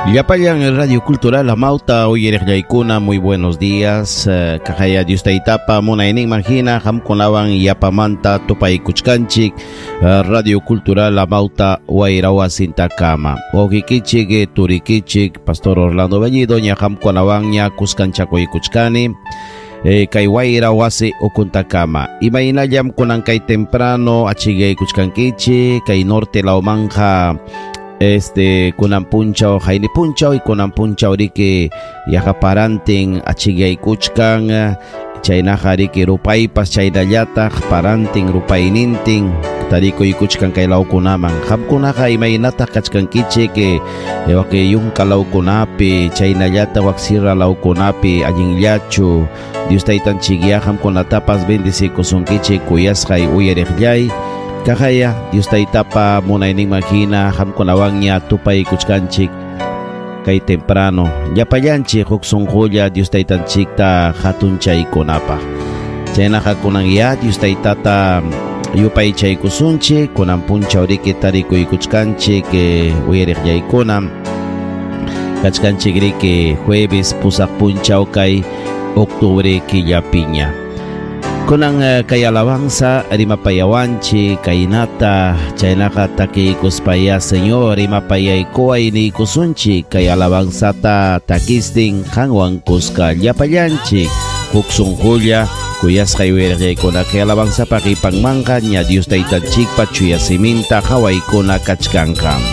Llapallan Radio Cultural Amauta uyariqllaykuna, muy buenos días. Kaqaya Dios taytapa munayninman hina qamkunawan yapamanta tupaykuchkanchik Radio Cultural Amauta wayrawasintakama. Wawqikichik, turikichik, Pastor Orlando Bellido, ña qamkunawanña kuskanchakuykuchkani. Kay wayra wasi ukuntakama. Imaynallam kunan kay temprano achikaykuchkankichik kay norte lawmanja kunan punchaw hayni punchaw y kunan punchaw riki yaqa parantin achikyaykuchkan chaynaqa riki rupaypas chaynallataq parantin rupaynintin tarikuykuchkan kay lawkunaman. Qamkunaqa imaynataq kachkankichik waki yunka lawkunapi chaynallataq wak sierra lawkunapi allinllachu Dios taytanchikya qamkunatapas bendecikusunkichik kuyasqay uyariqllay. Kaqaya Dios taytapa munayninman hina qamkunawanña tupaykuchkanchik kay temprano llapallanchik huk sunqulla Dios taytanchikta hatunchaykunapaq. Chaynaqa kunan ya Dios taytata yupaychaykusunchik kunan punchaw riki tarikuykuchkanchik uyariqllaykuna kachkanchik riki jueves pusaq punchaw kay octubre killapiña. Kunan kay alabanza rimapayawanchik kaynata chaynaqa takiykuspaya Señor rimapayaykuway niykusunchik kay alabanzata takistin qanwan kuska llapallanchik huk sunqulla kuyasqay uyariqllaykuna kay alabanzapa qipanmanqa ña Dios taytanchikpa chuya siminta hawaykuna kachkanqa.